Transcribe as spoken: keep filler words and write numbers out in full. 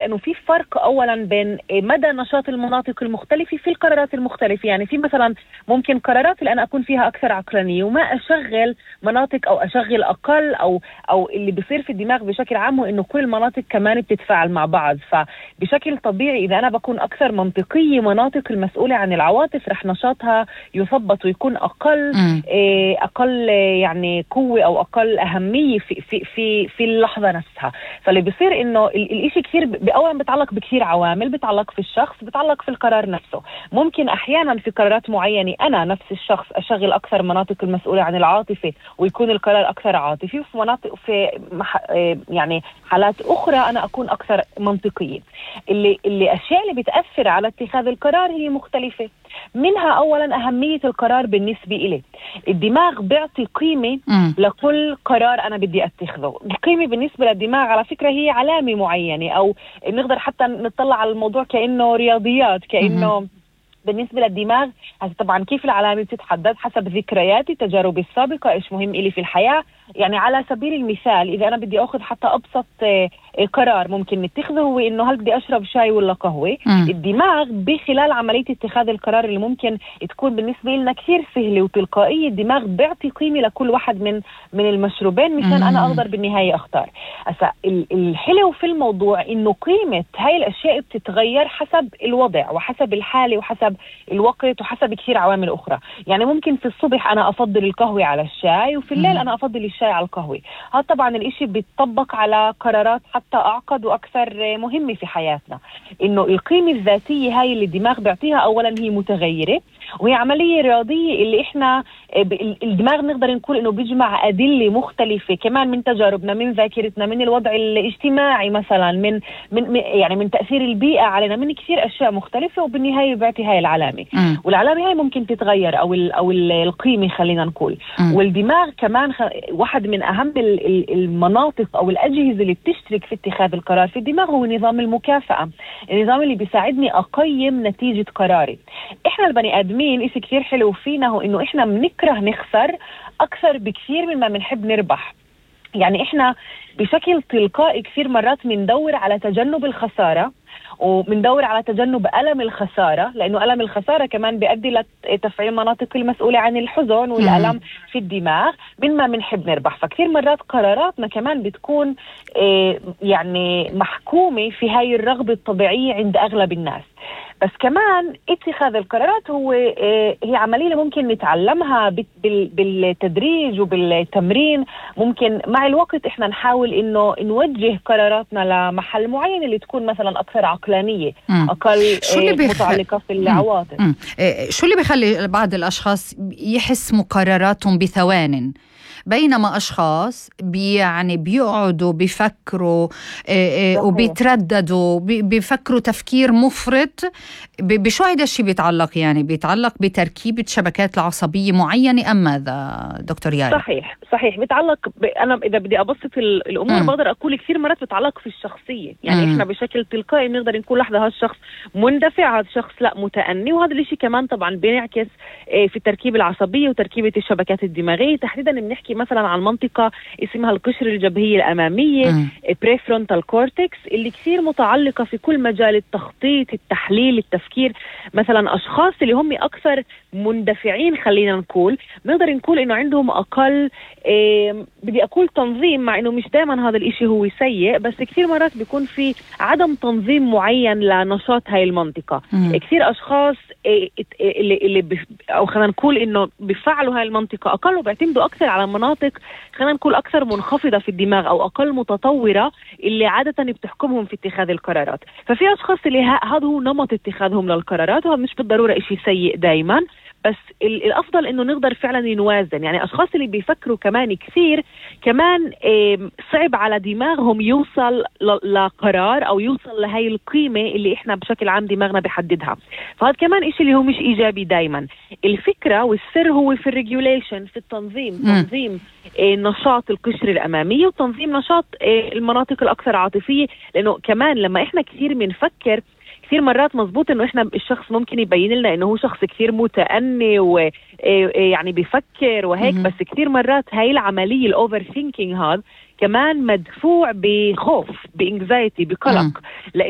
انه في فرق اولا بين مدى نشاط المناطق المختلفه في القرارات المختلفه. يعني في مثلا ممكن قرارات اللي انا اكون فيها اكثر عقلانيه وما اشغل مناطق او اشغل اقل، او او اللي بيصير في الدماغ بشكل عام هو انه كل المناطق كمان بتتفاعل مع بعض. فبشكل طبيعي اذا انا بكون اكثر منطقيه، مناطق المسؤوله عن العواطف رح نشاطها يثبط ويكون اقل إيه اقل يعني قوه او اقل اهميه في في في في اللحظه نفسها. فاللي بيصير انه الاشي كثير اولا بتعلق بكثير عوامل، بتعلق في الشخص، بتعلق في القرار نفسه. ممكن احيانا في قرارات معينه انا نفس الشخص اشغل اكثر مناطق المسؤوله عن العاطفه ويكون القرار اكثر عاطفي، وفي مناطق في مح... يعني حالات اخرى انا اكون اكثر منطقيه. اللي اللي اشياء اللي بتاثر على اتخاذ القرار هي مختلفه، منها اولا اهميه القرار بالنسبه إلي. الدماغ بيعطي قيمه م. لكل قرار انا بدي اتخذه. القيمه بالنسبه للدماغ على فكره هي علامه معينه، او نقدر حتى نطلع على الموضوع كانه رياضيات، كانه م. بالنسبة للدماغ طبعا كيف العلامة بتتحدد حسب ذكرياتي، تجاربي السابقة، إيش مهم إلي في الحياة. يعني على سبيل المثال إذا أنا بدي أخذ حتى أبسط قرار ممكن نتخذه هو إنه هل بدي أشرب شاي ولا قهوة. م. الدماغ بخلال عملية اتخاذ القرار اللي ممكن تكون بالنسبة لنا كثير سهلة وتلقائية، الدماغ بيعطي قيمة لكل واحد من من المشروبين مشان أنا أقدر بالنهاية أختار. أسا الحلو في الموضوع إنه قيمة هاي الأشياء بتتغير حسب الوضع وحسب الحالة وحسب الوقت وحسب كثير عوامل أخرى. يعني ممكن في الصبح أنا أفضل القهوة على الشاي، وفي الليل أنا أفضل الشاي على القهوة. هذا طبعا الإشي بيتطبق على قرارات حتى أعقد وأكثر مهمة في حياتنا. إنه القيمة الذاتية هاي اللي الدماغ بيعطيها أولا هي متغيرة، وهي عملية رياضية اللي إحنا الدماغ نقدر نقول إنه بيجمع أدلة مختلفة كمان من تجاربنا، من ذاكرتنا، من الوضع الاجتماعي مثلا، من من يعني من تأثير البيئة علينا، من كثير أشياء مختلفة، وبالنهاية بيعطي هاي العلامة. م. والعلامة هاي ممكن تتغير أو ال أو القيمة خلينا نقول. م. والدماغ كمان خ... واحد من أهم المناطق أو الأجهزة اللي بتشترك في اتخاذ القرار في الدماغ هو نظام المكافأة، النظام اللي بيساعدني أقيم نتيجة قراري. إحنا البني آدمين إشي كثير حلو فينا هو إنه إحنا بنكره نخسر أكثر بكثير مما بنحب نربح. يعني إحنا بشكل تلقائي كثير مرات بندور على تجنب الخسارة، وبندور على تجنب ألم الخسارة، لأنه ألم الخسارة كمان بيؤدي لتفعيل مناطق المسؤولة عن الحزن والألم في الدماغ مما بنحب نربح. فكثير مرات قراراتنا كمان بتكون يعني محكومة في هاي الرغبة الطبيعية عند أغلب الناس. بس كمان اتخاذ القرارات هو هي عملية ممكن نتعلمها بالتدريج وبالتمرين. ممكن مع الوقت احنا نحاول انه نوجه قراراتنا لمحل معين اللي تكون مثلا اكثر عقلانية، مم. اقل بيخ... متعلقة في العواطف. مم. شو اللي بيخلي بعض الاشخاص يحسموا قراراتهم بثوان، بينما أشخاص بي يعني بيقعدوا بيفكروا وبيترددوا بيفكروا تفكير مفرط؟ بشو هيدا الشيء بيتعلق؟ يعني بيتعلق بتركيبة شبكات العصبية معينة أم ماذا دكتور يارا؟ صحيح صحيح بيتعلق ب... أنا إذا بدي أبسط الأمور م. بقدر أقول كثير مرات بيتعلق في الشخصية. يعني م. إحنا بشكل تلقائي بنقدر نقول لحظة هذا الشخص مندفع، هذا الشخص لا متأني، وهذا الشيء كمان طبعا بينعكس في التركيبة العصبية وتركيبة الشبكات الدماغية. تحديدا بنحكي مثلا عن منطقة اسمها القشرة الجبهية الأمامية بريفرونتال كورتكس، اللي كثير متعلقة في كل مجال التخطيط، التحليل، التفكير. مثلا أشخاص اللي هم أكثر مندفعين خلينا نقول نقدر نقول إنه عندهم أقل إيه بدي أقول تنظيم، مع إنه مش دائما هذا الإشي هو سيء، بس كثير مرات بيكون في عدم تنظيم معين لنشاط هاي المنطقة. مم. كثير أشخاص إيه اللي, اللي بف أو خلينا نقول إنه بيفعلوا هاي المنطقة أقل وبيعتمدوا أكثر على مناطق خلينا نقول أكثر منخفضة في الدماغ أو أقل متطورة اللي عادة بتحكمهم في اتخاذ القرارات. ففي أشخاص اللي هذا هو نمط اتخاذهم للقرارات، وهذا مش بالضرورة إشي سيء دايما، بس الأفضل إنه نقدر فعلا نوازن. يعني أشخاص اللي بيفكروا كمان كثير كمان صعب على دماغهم يوصل لقرار أو يوصل لهاي القيمة اللي إحنا بشكل عام دماغنا بيحددها. فهذا كمان إشي اللي هو مش إيجابي دايما. الفكرة والسر هو في الريجوليشن، في التنظيم، تنظيم نشاط القشرة الأمامية وتنظيم نشاط المناطق الأكثر عاطفية. لأنه كمان لما إحنا كثير بنفكر كثير مرات مزبوط انه احنا الشخص ممكن يبين لنا انه هو شخص كثير متأني ويعني بيفكر وهيك، بس كثير مرات هاي العملية الاوفر ثينكينج هذا كمان مدفوع بخوف، بانكزايتي، بقلق، لأن